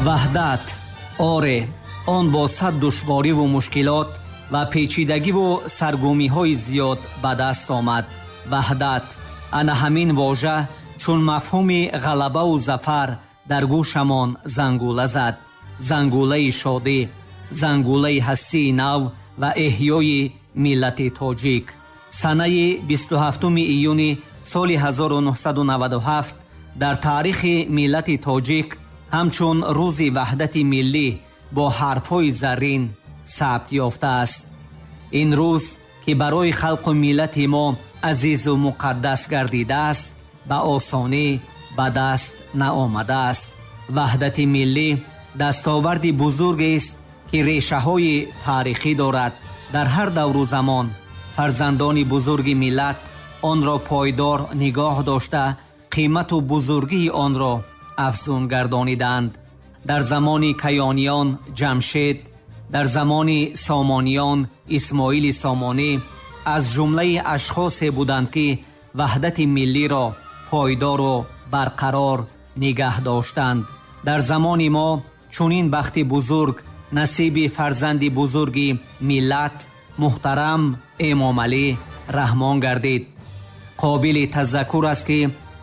Ваҳдат, оре, он бо сад душвориву мушкилот ва печидагиву саргумиҳои зиёд ба даст омад. Ваҳдат, ана ҳамин вожа чун мафҳуми ғалабаву зафар дар гӯшамон зангула зад. Зангулаи шодӣ, зангулаи ҳастии нав ва эҳёи миллати тоҷик. Санаи 27 июни соли 1997 дар таърихи миллати тоҷик ҳамчун рӯзи ваҳдати миллӣ бо ҳарфҳои заррин сабт ёфтааст. Ин рӯз, ки барои халқу миллати мо азизу муқаддас гардидааст, ба осонӣ ба даст наомадааст. Ваҳдати миллӣ дастоварди бузургест, ки решаҳои таърихӣ дорад. Дар ҳар давру замон фарзандони бузурги миллат онро пойдор нигоҳ дошта, қимату бузургии онро афзун гардониданд. Дар замони Каёниён Ҷамшед, дар замони Сомониён Исмоили Сомонӣ аз ҷумлаи ашхосе буданд, ки ваҳдати миллиро пойдору барқарор нигаҳ доштанд. Дар замони мо чунин бахти бузург насиби фарзанди бузурги миллат муҳтарам Эмомалӣ Раҳмон гардид. Қобили тазаккур аст, ки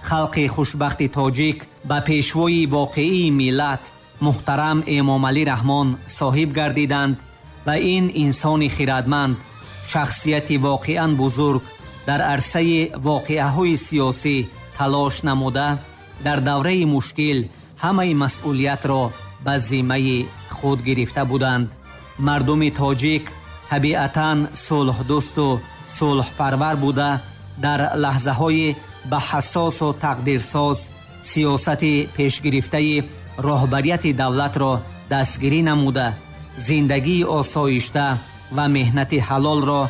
халқи хушбахти тоҷик ба пешвои воқеии миллат муҳтарам Эмомалӣ Раҳмон соҳиб гардиданд ва ин инсони хирадманд, шахсияти воқеан бузург дар арсаи воқеаҳои сиёсӣ талош намуда, дар давраи мушкил ҳамаи масъулиятро ба зиммаи худ гирифта буданд. Мардуми тоҷик табиатан сулҳдӯсту сулҳпарвар буда, дар лаҳзаҳои ба ҳассосу тақдирсоз сиёсати пешгирифтаи роҳбарияти давлатро дастгирӣ намуда, зиндагии осоишта ва меҳнати ҳалолро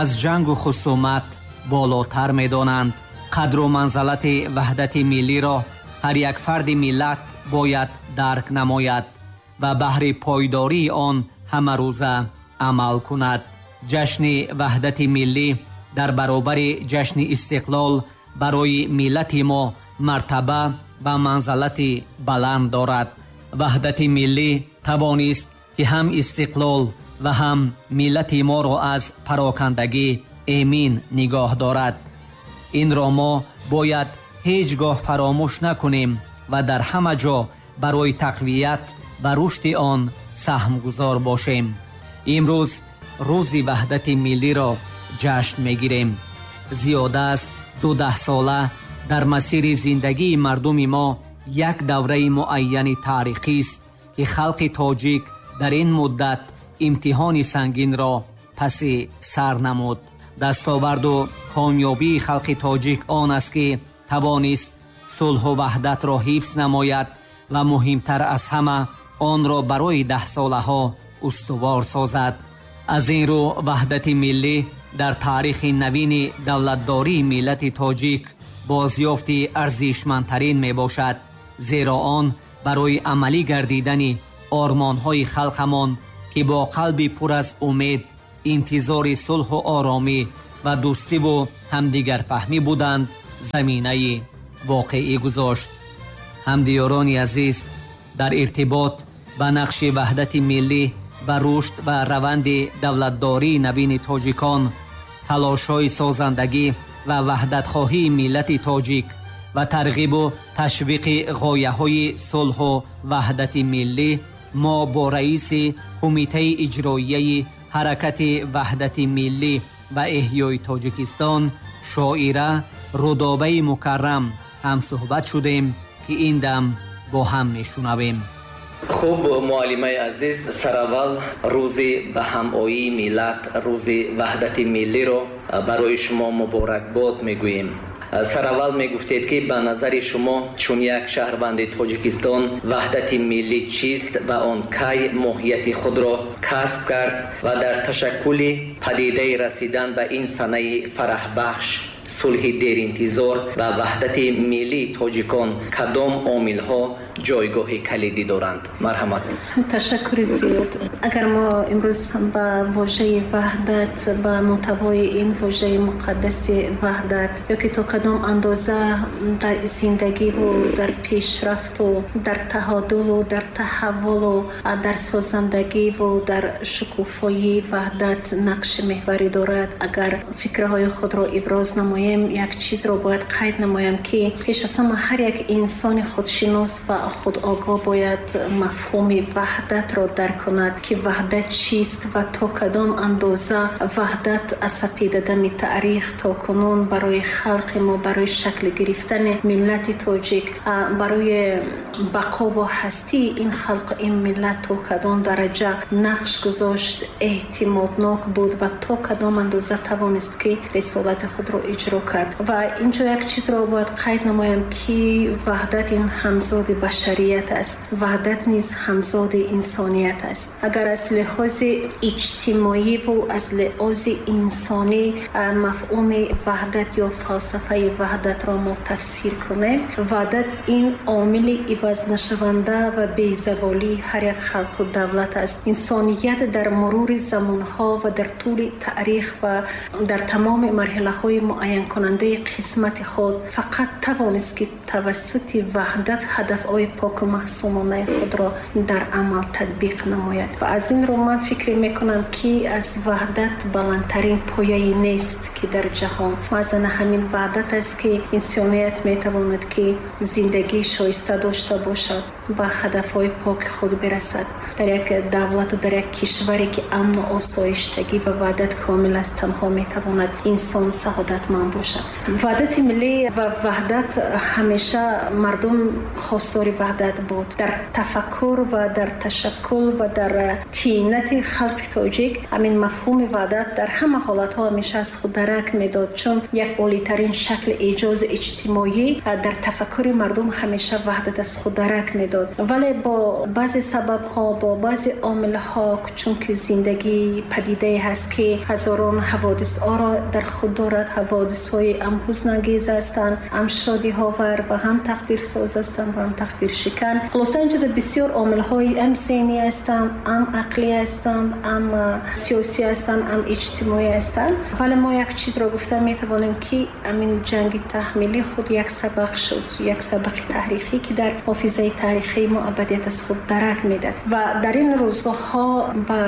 аз ҷангу хусумат болотар медонанд. Қадру манзалати ваҳдати миллиро ҳар як фарди миллат бояд дарк намояд ва баҳри пойдории он ҳамарӯза амал кунад. Ҷашни ваҳдати миллӣ дар баробари ҷашни истиқлол барои миллати мо мартаба ва манзалати баланд дорад. Ваҳдати миллӣ тавонист, ки ҳам истиқлол ва ҳам миллати моро аз парокандагӣ эмин нигоҳ дорад. Инро мо бояд ҳеҷ гоҳ фаромӯш накунем ва дар ҳама ҷо барои тақвият ва рушди он саҳмгузор бошем. Имрӯз рӯзи ваҳдати миллиро ҷашн мегирем. Зиёда аз 12сола дар масири зиндагии мардуми мо як давраи муайяни таърихист, ки халқи тоҷик дар ин муддат имтиҳони сангинро паси сар намуд. Дастоварду комёбии халқи тоҷик он аст, ки тавонист сулҳу ваҳдатро ҳифз намояд ва муҳимтар аз ҳама онро барои даҳсолаҳо устувор созад. Аз ин рӯ ваҳдати миллӣ дар таърихи навини давлатдории миллати тоҷик бозёфти арзишмандтарин мебошад, зеро он барои амалӣ гардидани ормонҳои халқамон, ки бо қалби пур аз умед интизори сулҳу оромӣ ва дӯстиву ҳамдигарфаҳмӣ буданд, заминаи воқеӣ гузошт. Ҳамдиёрони азиз, дар иртибот ба нақши ваҳдати миллӣ ба рушд ва раванди давлатдории навини тоҷикон, талошҳои созандагӣ ва ваҳдатхоҳии миллати тоҷик ва тарғибу ташвиқи ғояҳои сулҳу ваҳдати миллӣ, мо бо раиси Кумитаи иҷроияи ҳаракати ваҳдати миллӣ ва эҳёи Тоҷикистон шоира Рудобаи Мукаррам ҳамсуҳбат шудем, ки ин дам бо ҳам мешунавем. Хуб, муаллимаи азиз, сараввал рӯзи ба ҳамоии миллат, рӯзи ваҳдати миллиро барои шумо муборакбод мегӯем. Сараввал мегуфтед, ки ба назари шумо чун як шаҳрванди Тоҷикистон ваҳдати миллӣ чист ва он кай моҳияти худро касб кард ва дар ташаккули падидаи расидан ба ин санаи фараҳбахш сулҳи деринтизор ва ваҳдати миллии тоҷикон кадом омилҳо ҷойгоҳи калидӣ доранд? Марҳамат. Ташаккури зиёд. Агар мо имрӯз ба вожаи ваҳдат, ба мӯҳтавои ин вожаи муқаддаси ваҳдат ё ки то кадом андоза дар зиндагиву дар пешрафту дар таҳодулу дар таҳаввулу дар созандагиву дар шукуфоии ваҳдат нақши меҳварӣ дорад, агар фикрҳои худро иброз намоем, як чизро бояд қайд намоям, ки пеш аз ҳама ҳар як инсони худшинос ва худогоҳ бояд мафҳуми ваҳдатро дарк кунад, ки ваҳдат чист ва то кадом андоза ваҳдат аз сапедадами таърих то кунун барои халқи мо, барои шакл гирифтани миллати тоҷик, барои бақо ва ҳастии ин халқ, ин миллат то кадом дараҷа нақш гузошт, эътимоднок буд ва то кадом андоза тавонист, ки рисолати худро иҷро кард. Ва инҷо як чизро бояд қайд намоям, ки ваҳдат ин ҳамзоди башарият аст, ваҳдат низ ҳамзоди инсоният аст. Агар аз лиҳози иҷтимоӣ ву аз лиҳози инсонӣ мафҳуми ваҳдат ё фалсафаи ваҳдатро мо тафсир кунем, ваҳдат ин омили ивазнашаванда ва безаволии ҳар як халқу давлат аст. Инсоният дар мурури замонҳо ва дар тӯли таърих ва дар тамоми марҳилаҳои муайянкунандаи қисмати худ фақат тавонист, ки тавассути ваҳдат ҳадафҳои поку маъсумонаи худро дар амал татбиқ намояд. Ва аз ин рӯ ман фикр мекунам, ки аз ваҳдат баландтарин пояе нест, ки дар ҷаҳон. Маҳз ана ҳамин ваҳдат аст, ки инсоният метавонад, ки зиндагии шоиста дошта бошад, ба ҳадафҳои поки худ бирасад. Дар як давлату дар як кишваре, ки амну осоиштагӣ ва ваҳдат комил аст, танҳо метавонад инсон саодатманд бошад. Ваҳдати миллӣ ва ваҳдат, ҳамеша мардум хостори ваҳдат буд. Дар тафаккур ва дар ташаккул ва дар тинати халқи тоҷик ҳамин мафҳуми ваҳдат дар ҳама ҳолатҳо ҳамеша аз худ дарак медод, чун як олитарин шакли эҷози иҷтимоӣ дар тафаккури мардум ҳамеша ваҳдат аз худ дарак медод. Вале бо баъзе сабабҳо, бо баъзе омилҳо, чунки зиндагӣ падидае ҳаст, ки ҳазорон ҳаводисҳоро дар худ дорад, ҳаводисҳои ҳам ҳузнангез ҳастанд, ҳам шодиҳовар ва ҳам тақдирсоз ҳастанд ва ҳам тақдиршикан. Хулоса, инҷода бисёр омилҳои ҳам зеҳнӣ ҳастанд, ҳам ақлӣ ҳастанд, ҳам сиёсӣ ҳастанд, ҳам иҷтимоӣ ҳастанд. Вале мо як чизро гуфта метавонем, ки ҳамин ҷанги таҳмилӣ худ як сабақ шуд, як сабақи таърихӣ, ки дар ҳофизаи таърихии мо абадият аз худ дарак медад. Ва дар ин рӯзҳо ба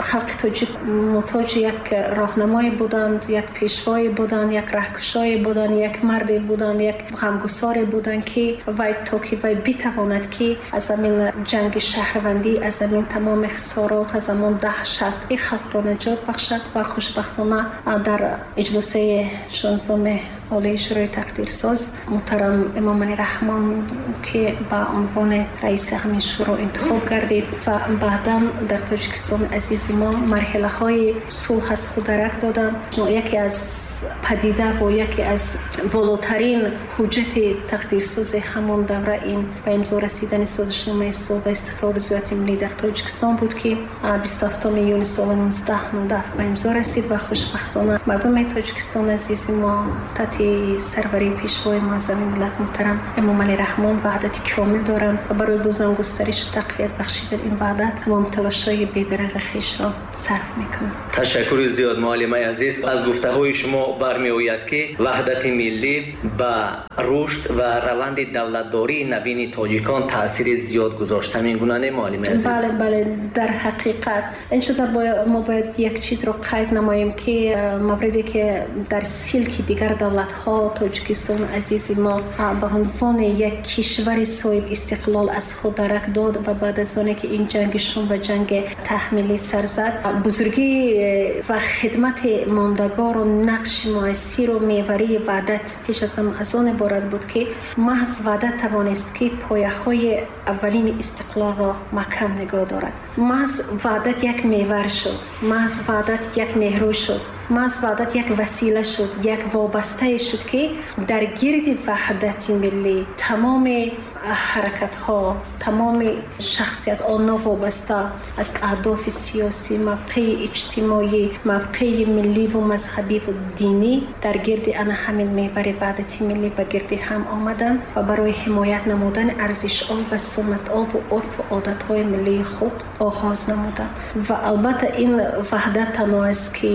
халқи тоҷик муҳтоҷи як роҳнамое буданд, як пешвое буданд, як раҳкушое буданд, як марде буданд, як ғамгусоре буданд, ки вай то ки вай битавонад, ки аз ҳамин ҷанги шаҳрвандӣ, аз ҳамин тамоми хисорот, аз ҳамон даҳшат ин халқро наҷот бахшад. Ва хушбахтона дар иҷлосаи 16-уми Олии Шӯрои тақдирсоз муҳтарам Эмомалӣ Раҳмон, ки ба унвони раиси ҳамин шӯро интихоб гардид ва баъдан дар Тоҷикистони азизи мо марҳилаҳои сулҳ аз худ дарак доданд, яке аз падида ва яке аз волотарин ҳуҷҷати тақдирсози ҳамон давра ин ба имзо расидани созишномаи сулҳ ва истиқрори зиёати миллӣ дар Тоҷикистон буд, ки 27 июни соли 1997 ба имзо расид. Ва хушбахтона мардуми Тоҷикистони азизи мо таҳти сарварии пешвои муаззами миллат муҳтарам Эмомалӣ Раҳмон ваҳдати комил доранд ва барои бозам густаришу тақвият бахшидан ин ваҳдат тамом талошҳои бедареғи хешро сарф мекунанд. Ташаккури зиёд, муаллимаи азиз. Аз гуфтаҳои шумо бармеояд, ки ваҳдати миллӣ ба рушд ва раванди давлатдории навини тоҷикон таъсири зиёд гузошт. Ҳамин гуна не, муаллимаи азиз? Бале, бале, дар ҳақиқат ин шуда мо бояд як чизро қайд намоем, ки мавриде ки дар силки дигар давлатҳо Тоҷикистони азизи мо ба унвони як кишвари соҳиб истиқлол аз худ дарак дод ва баъд аз оне ки ин ҷанги шум ва ҷанги таҳмилӣ сар зад, бузургӣ ва хидмати мондагору нақши муассиру меварии ваҳдат пеш аз ҳама аз он иборат буд, ки маҳз ваҳдат тавонист, ки пояҳои аввалини истиқлолро маҳкам нигоҳ дорад. Маҳз ваҳдат як мевар шуд, маҳз ваҳдат як нерӯ шуд, маҳз ваҳдат як васила шуд, як вобастае шуд, ки дар гирди ваҳдати миллӣ тамоми ҳаракатҳо, тамоми шахсиятҳо новобаста аз аҳдофи сиёсӣ, мавқеи иҷтимоӣ, мавқеи миллӣ ва мазҳабӣ ва динӣ дар гирди ана ҳамин меҳвари ваҳдати миллӣ ба гирди ҳам омаданд ва барои ҳимоят намудани арзишҳо ва суннатҳо ва урфу одатҳои миллии худ оғоз намуданд. Ва албатта ин ваҳдат танҳо аст ки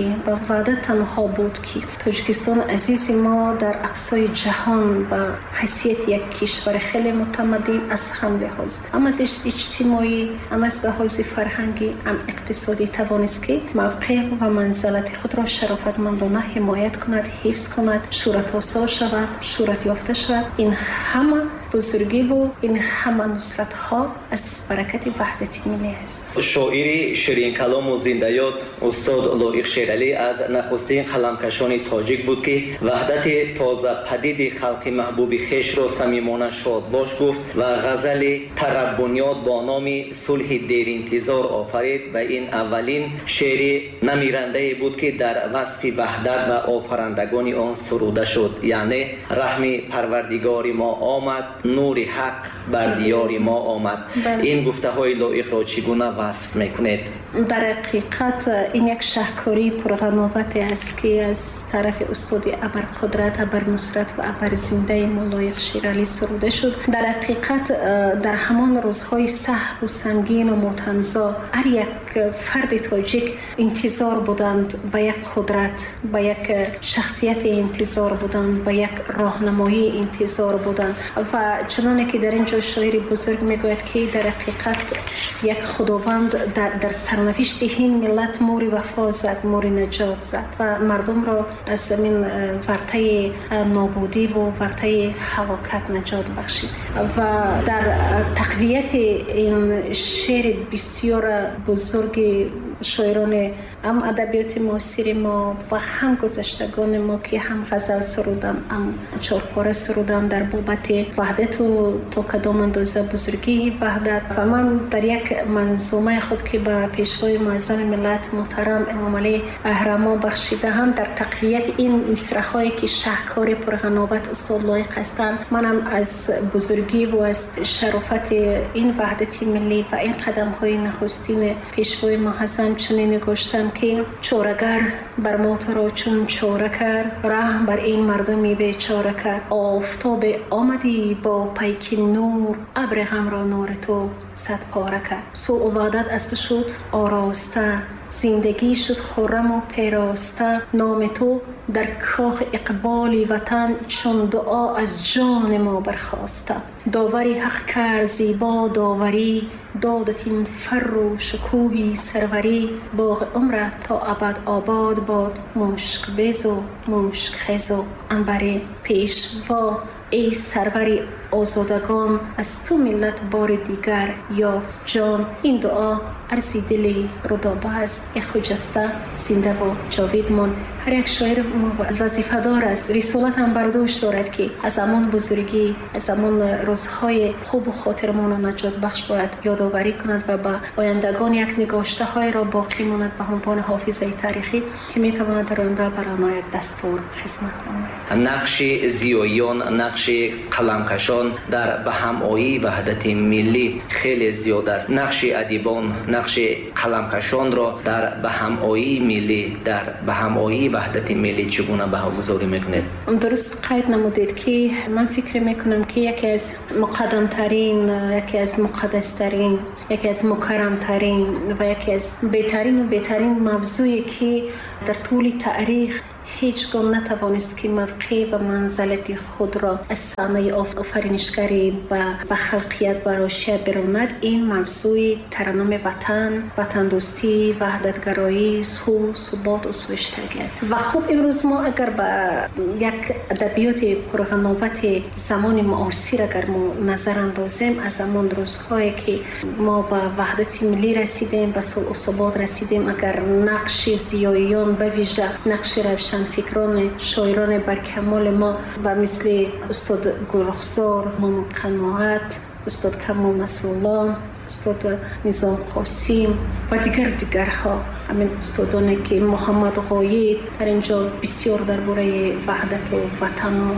ваҳдат танҳо буд ки Тоҷикистони азизи мо дар ақсои ҷаҳон ба ҳайсияти як кишвари хеле мутамаддин аз ҳам лиҳоз, ҳам аз иҷтимоӣ, ҳам аз лиҳози фарҳангӣ, ҳам иқтисодӣ тавонист ки мавқеъ ва манзалати худро шарофатмандона ҳимоят кунад, ҳифз кунад, шӯҳратосо шавад, шӯҳратёфта шавад. Ин ҳама бузургиву ин ҳама нусратҳо аз баракати ваҳдати миллӣ аст. Шоири ширинкалому зиндаёд устод Лоиқ Шералӣ аз нахустин қаламкашони тоҷик буд, ки ваҳдати тозападиди халқи маҳбуби хешро самимона шодбош гуфт ва ғазали тараббунёд бо номи сулҳи деринтизор офарид ва ин аввалин шеъри намирандае буд, ки дар васфи ваҳдат ва офарандагони он суруда шуд. Яъне раҳми парвардигори мо омад, нури ҳақ бар диёри мо омад. Ин гуфтаҳои Лоиқро чӣ гуна васф мекунед? Дар ҳақиқат ин як шаҳкории пурғановате аст, ки аз тарафи устоди абарқудрат, абарнусрат ва абарзиндаи мо Лоиқ Шералӣ суруда шуд. Дар ҳақиқат дар ҳамон рӯзҳои сахту сангину мотамзо ҳар як фарди тоҷик интизор буданд ба як қудрат, ба як шахсияти интизор буданд, ба як роҳнамоӣ интизор буданд. Ва чуноне ки дар ин ҷо шоири бузург мегӯяд, ки дар ҳақиқат як худованд дар сарнавишти ҳин миллат мури вафо зад, мури наҷот зад ва мардумро аз замин вартаи нобудӣ ва вартаи ҳалокат наҷот бахшид. Ва дар тақвияти ин шеъри бисёр бузурги шоирони ҳам адабиёти муосири мо ва ҳам гузаштагони мо, ки ҳам ғазал суруданд, ҳам чорпора суруданд дар бобати ваҳдату то кадом андоза бузургии ваҳдат. Ва ман дар як манзумаи худ, ки ба пешвои муаззами миллат муҳтарам Эмомалӣ Раҳмон бахшидаам, дар тақвияти ин мисраҳое ки шаҳкори пурғановат устод Лоиқ ҳастанд, манам аз бузургӣ ва аз шарофати ин ваҳдати миллӣ ва ин қадамҳои нахустини пешвои муаззам чунин нигоштам, ки чорагар бар мо туро чун чора кард, раҳм бар ин мардуми бечора кард. Офтобе омадӣ бо пайки нур, абри ғамро нури ту сад пора кард. Сулҳу ваҳдат аз ту шуд ороста, зиндагӣ шуд хурраму пероста. Номи ту дар кохи иқболи ватан чун дуо аз ҷони мо бархоста. Довари ҳақ кард зебо доварӣ, додат ин фарру шукӯҳи сарварӣ. Боғи умрат то абад обод бод, мушкбезу мушкхезу анбарӣ. Пешво эй сарвари озодагон, аз ту миллат бори дигар ёфт ҷон. Ин дуо арзи дили Рудоба аст, э хуҷаста зиндаву ҷовид мон. Ҳар як шоир вазифадор аст, рисолат ҳам бар дӯш дорад, ки аз ҳамон бузургӣ, аз ҳамон рӯзҳои хубу хотирмону наҷотбахш бояд ёдоварӣ кунад ва ба ояндагон як нигоштаҳоеро боқӣ монад ба ҳунвони ҳофизаи таърихӣ, ки метавонад дар оянда бар онҳо як дастур хизмат намояд. Нақши зиёиён, нақши қаламкашон дар ба ҳамоии ваҳдати миллӣ хеле зиёд аст. Нақши адибон, нақши қаламкашонро дар ба ҳамоии миллӣ, дар ба ҳамоии ваҳдати миллӣ чӣ гуна баҳогузорӣ мекунед? Дуруст қайд намудед, ки ман фикр мекунам, ки яке аз муқаддамтарин, яке аз муқаддастарин, яке аз мукаррамтарин ва яке аз беҳтарину беҳтарин мавзӯе, ки дар тӯли таърих ҳеҷ гоҳ натавонист, ки мавқеъ ва манзалати худро аз саҳнаи офаринишгарӣ ба халқият барошия биронад, ин мавзӯи тараннуми ватан, ватандӯстӣ, ваҳдатгароӣ, сулҳ, субот, усуиштагӣ аст. Ва хуб имрӯз мо агар ба як адабиёти пурғановати замони муосир агар мо назар андозем, аз ҳамон рӯзҳое ки мо ба ваҳдати миллӣ расидем, ба сулҳу субот расидем, агар нақши зиёиён, ба вижа нақши равшан фикрони шоирони баркамоли мо ба мисли устод Гулрухсор, Мамуд Қаноат, устод Камол Насрулло, устод Низом Қосим ва дигар дигарҳо Ҳамин устодоне ки Муҳаммад Ғоиб дар инҷо бисёр дар бораи ваҳдату ватану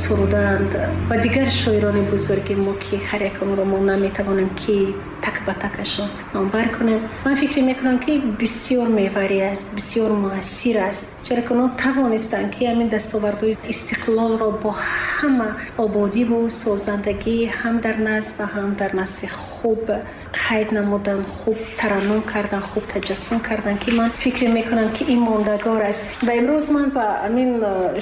суруданд ва дигар шоирони бузурги мо, ки ҳар як онро мо наметавонем ки так ба такашон номбар кунем. Ман фикр мекунам, ки бисёр меварӣ аст, бисёр муассир аст, чаро ки онҳо тавонистанд, ки ҳамин дастовардҳои истиқлолро бо ҳама ободиву созандагӣ ҳам дар назм ва ҳам дар насри хуб қайд намудан, хуб тараннум кардан, хуб таҷассум кардан, ки ман фикр мекунам, ки ин мондагор аст. Ва имрӯз ман ба ҳамин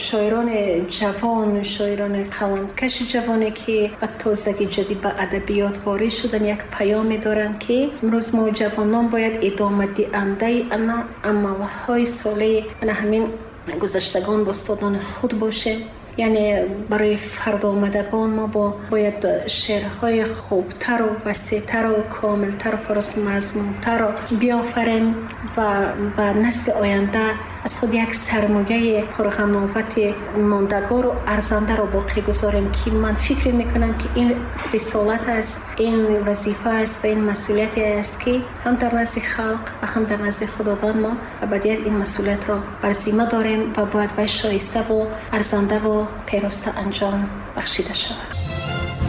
шоирони ҷавон, шоирони қаламкаши ҷавоне, ки ба тозагӣ ҷадид ба адабиёт ворид шудан, як паёме дорам, ки имрӯз мо ҷавонон бояд идомадиҳандаи ана амалҳои солеҳи ана ҳамин гузаштагон ба устодони худ бошем. Яъне барои фардоомадагон мо бояд шеърҳои хубтару васеътару комилтару пурмазмунтарро биёфарем ва ба насли оянда аз худ як сармояи пурғановати мондагору арзандаро боқӣ гузорем, ки ман фикр мекунам, ки ин рисолат аст, ин вазифа аст ва ин масъулияте аст, ки ҳам дар назди халқ ва ҳам дар назди Худованд мо абадият ин масъулиятро бар зимма дорем ва бояд вай шоиставу арзандаву пироста анҷом бахшида шавад.